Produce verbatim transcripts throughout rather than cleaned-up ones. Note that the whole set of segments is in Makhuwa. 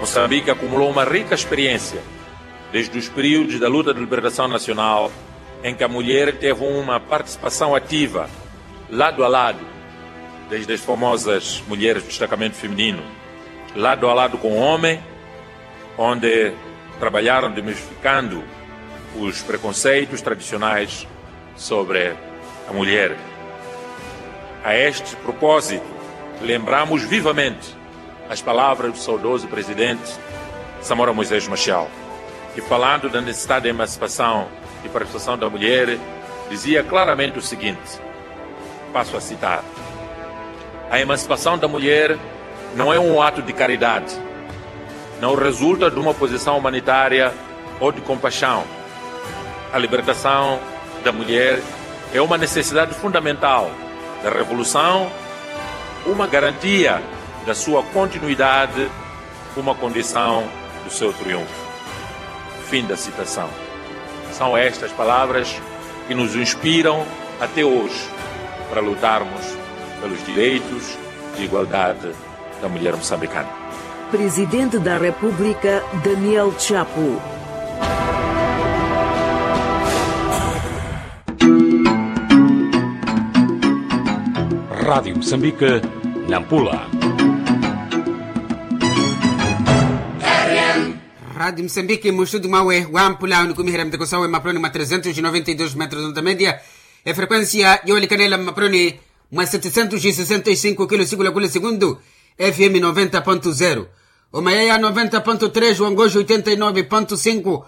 Moçambique acumulou uma rica experiência desde os períodos da luta de libertação nacional, em que a mulher teve uma participação ativa, lado a lado, desde as famosas mulheres do destacamento feminino, lado a lado com o homem, onde trabalharam desmistificando os preconceitos tradicionais sobre a mulher. A este propósito, lembramos vivamente as palavras do saudoso presidente Samora Moisés Machel, que, falando da necessidade de emancipação e participação da mulher, dizia claramente o seguinte, passo a citar: "A emancipação da mulher não é um ato de caridade, não resulta de uma posição humanitária ou de compaixão. A libertação da mulher é uma necessidade fundamental da revolução, uma garantia da sua continuidade, uma condição do seu triunfo." Fim da citação. São estas palavras que nos inspiram até hoje para lutarmos pelos direitos de igualdade da mulher moçambicana. Presidente da República, Daniel Chapo. Rádio Moçambique, Nampula. Rádio Moçambique, muxutu mwawe wampula, onikumiherya miteko sawe mapuloni mwa trezentos e noventa e dos metros onda média, efrequência yowalikanela mapuloni mwa setecentos e sessenta e cinco kilo siku la kule segundu, F M noventa ponto zero, omayaya noventa ponto três, wangoxo oitenta e nove ponto cinco,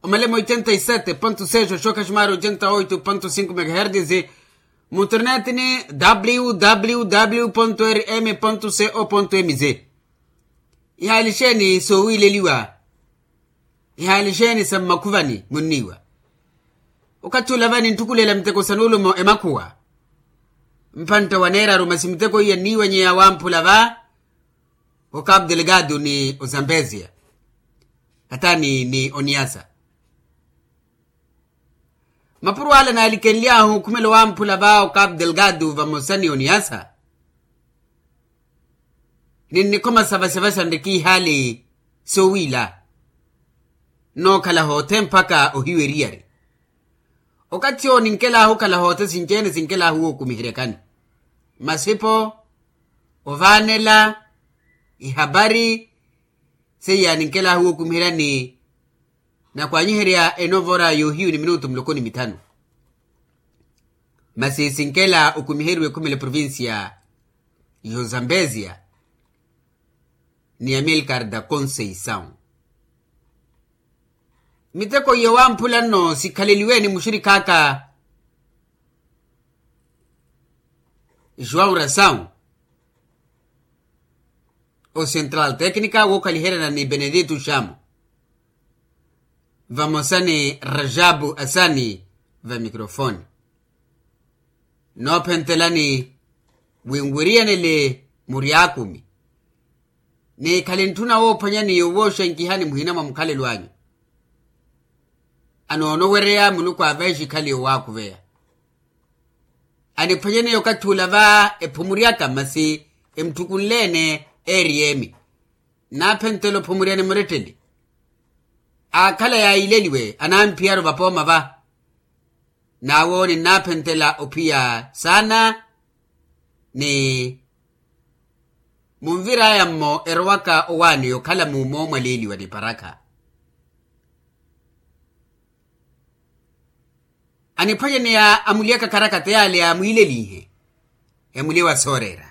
omalema oitenta e sete ponto seis, oxoka ximari oitenta e oito ponto cinco megahertz, mu internet ni w w w ponto r m ponto c o ponto m z. Ihaalixeni soowiileliwa, ihaalixeni sa mmakhuvani munniiwa. Okathi ula vani ntthukulela miteko sa nuulumo emakhuwa, mpantta waneeraru masi miteko iya nniiwanyeya wamphula va, o capu delgado ni o zambezia, hata ni ni oniasa. Mapuro ala naalikenly'ahu okhumela owamphula va o capu delgado vamosa ni oniasa, ninnikhoma savasavasa nrikiihaali soowiila, nnookhala hoothe mpakha ohiwa eriyari. Okathi owo ninkel'ahu okhala hoothe sinci-ene sinkel'ahu wookumiheryakani, masipo, ovaanela, ihapari, seiya ninkel'ahu wookumiheryani. Nakwaanyiherya enovora yoohiyu ni minutu muloko ni mithanu, masi sinkela okumiheriwa ekhumela eprovincia y'ozambezia ni amilcar da conceição. Miteko iye wamphula nno sikhaleliwe ni muxirikhaaka joão ração, o central técnica wookhaliheryana ni benedito chamo, vamosa ni rajabu asani va microfone. Noophentelani winwiriyanele muryakumi, ni khali ntthuna woophwanyani yowooxenkihani muhina mwa mukhalelo anyu. Anoonowereya muluku aveexe ikhali yowaakuveya. Aniphwanyaneya okathi ula va ephumuryaka masi emutthukunle-ene, eeriy'emi nnaaphentela ophumuryani muretteli. Aakhala yaayileliwe anamphiyaru vapooma va, n'awo ninnaaphentela ophiya saana. Ni munvir'aya-mmo erowaka owaani okhala mumo mwaleeliwa ni parakha. Aniphwanyaneya amulyaka karakata yaale amwiilelihe emulye wa sooreera.